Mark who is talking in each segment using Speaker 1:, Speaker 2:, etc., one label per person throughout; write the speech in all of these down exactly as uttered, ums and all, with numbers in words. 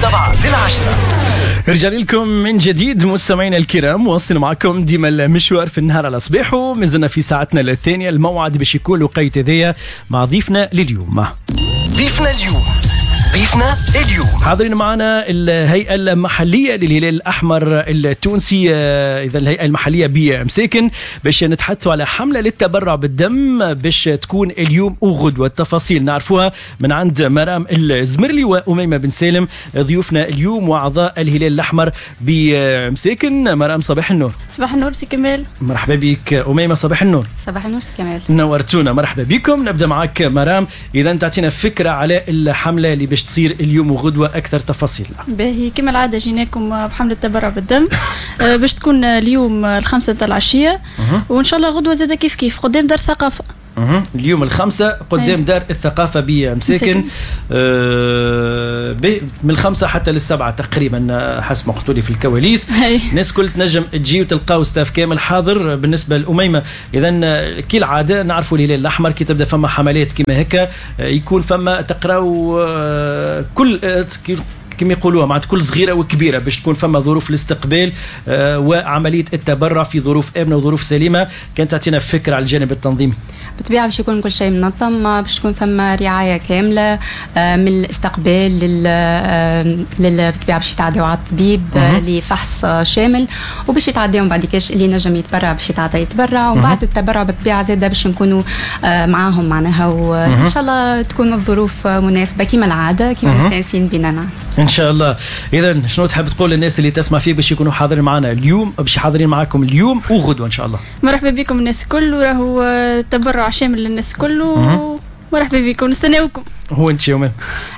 Speaker 1: السبعة للعشرة.
Speaker 2: رجع لكم من جديد مستمعينا الكرام، واصل معكم ديما المشوار في النهار على صباحه. مازلنا في ساعتنا الثانية، الموعد باش يكون وقيت هذايا مع ضيفنا لليوم.
Speaker 1: ضيفنا اليوم ضيفنا اليوم
Speaker 2: حاضرين معنا الهيئة المحلية للهلال الأحمر التونسي، إذا الهيئة المحلية بمساكن، باش نتحدثوا على حملة للتبرع بالدم باش تكون اليوم وغدوة. التفاصيل نعرفوها من عند مرام الزمرلي وأميمة بن سالم ضيوفنا اليوم وأعضاء الهلال الأحمر بمساكن. مرام صباح النور.
Speaker 3: صباح النور سي كمال.
Speaker 2: مرحبا بك أميمة. صباح النور.
Speaker 4: صباح النور سي كمال،
Speaker 2: نورتونا، مرحبا بكم. نبدأ معك مرام، إذا تعطينا فكرة على الحملة اللي باش تصير اليوم وغدوة، أكثر تفاصيل.
Speaker 3: باهي، كما العادة جيناكم بحملة التبرع بالدم باش تكون اليوم الخمسة تاع العشية، وإن شاء الله غدوة زادة كيف كيف قدام دار الثقافة.
Speaker 2: اليوم الخمسة قدام دار الثقافة بمساكن، آه من الخمسة حتى للسبعة تقريبا حسب ما قلتوا لي في الكواليس. الناس كل تنجم تجي وتلقاو staff كامل حاضر. بالنسبة لأميمة، إذا كي العادة نعرفوا الهلال الأحمر كي تبدأ فما حملات كيما هكا يكون فما تقراو كل كما يقولوها معناتها كل صغيرة وكبيرة باش تكون فما ظروف الاستقبال وعملية التبرع في ظروف آمنة وظروف سليمة. كانت تعطينا فكرة على الجانب التنظيمي.
Speaker 4: بالطبيعة باش يكون كل شيء منظم، باش تكون فما رعاية كاملة من الاستقبال لل لل بالطبيعة باش يتعداو على الطبيب لفحص شامل، وباش يتعداو من بعد كاش اللي نجم يتبرع باش يتعدى يتبرع، وبعد التبرع بالطبيعة زادة باش نكونوا معاهم معناها، وإن شاء الله تكون الظروف مناسبة كما العادة كما مستانسين بينا
Speaker 2: إن شاء الله. إذا شنو تحب تقول للناس اللي تسمع فيه باش يكونوا حاضرين معنا اليوم، باش حاضرين معاكم اليوم وغدوة إن شاء الله؟
Speaker 3: مرحبا بكم الناس الكل، وراهو تبرع شامل للناس الكل، مرحبا بكم، نستناوكم.
Speaker 2: هو انت يومين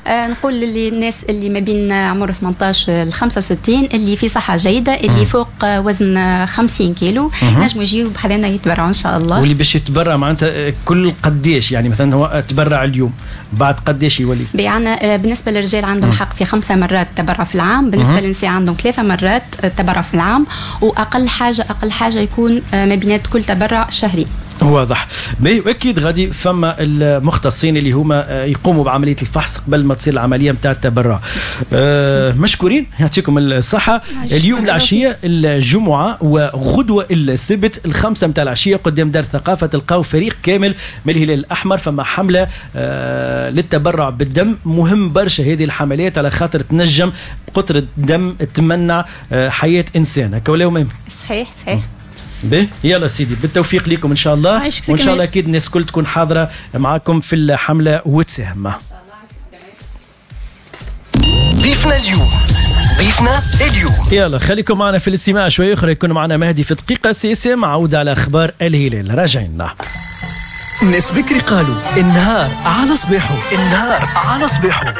Speaker 4: آه نقول للناس اللي ما بين عمر ثمانية عشر ل خمسة وستين اللي في صحة جيدة، اللي فوق وزن خمسين كيلو، نجموا يجيو بحذانا يتبرعوا ان شاء الله.
Speaker 2: واللي باش يتبرع معناتها كل قديش، يعني مثلا هو تبرع اليوم بعد قديش يولي؟
Speaker 4: بيعنا بالنسبة للرجال عندهم حق في خمسة مرات تبرع في العام، بالنسبة للنساء عندهم ثلاثة مرات تبرع في العام، واقل حاجة اقل حاجة يكون ما بينات كل تبرع شهري.
Speaker 2: واضح. واكيد غادي فما المختصين اللي هما يقوموا بعملية الفحص قبل ما تصير العملية نتاع التبرع. أه مشكورين، يعطيكم الصحة. اليوم العشية الجمعة وغدوه السبت الخمسة نتاع العشية قدام دار الثقافة تلقاو فريق كامل من الهلال الاحمر. فما حمله أه للتبرع بالدم، مهم برشا هذه الحملات على خاطر تنجم بقطره دم تمنع حياة انسان. هكا ولا مهم؟
Speaker 4: صحيح صحيح.
Speaker 2: به يلا سيدي، بالتوفيق لكم ان شاء الله، وان شاء الله اكيد الناس كل تكون حاضره معاكم في الحملة وتساهم.
Speaker 1: ضيفنا اليوم ضيفنا اليوم
Speaker 2: يلا خليكم معنا في الاستماع شوية اخرى، يكون معنا مهدي في دقيقة سياسية مع عوده على اخبار الهلال. راجعين.
Speaker 1: الناس بكري قالوا النهار على صباحه، النهار على صباحه،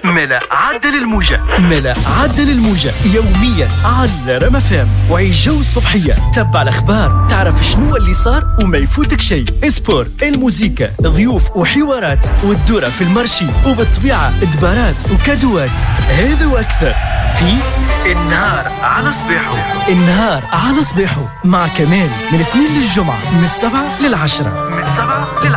Speaker 1: ملا عدل الموجة،
Speaker 2: ملا عدل الموجة يوميا على رما فام وعيش جو الصبحية. تبع الأخبار، تعرف شنو اللي صار وما يفوتك شيء. sport، الموزيكا، ضيوف وحوارات، والدورة في ال marché، وبالطبيعة دبارات وكادوات. هذا وأكثر في النهار على صباحه. النهار على صباحه مع كمال من اثنين للجمعة من السبعة للعشرة. من السبعة للعشرة.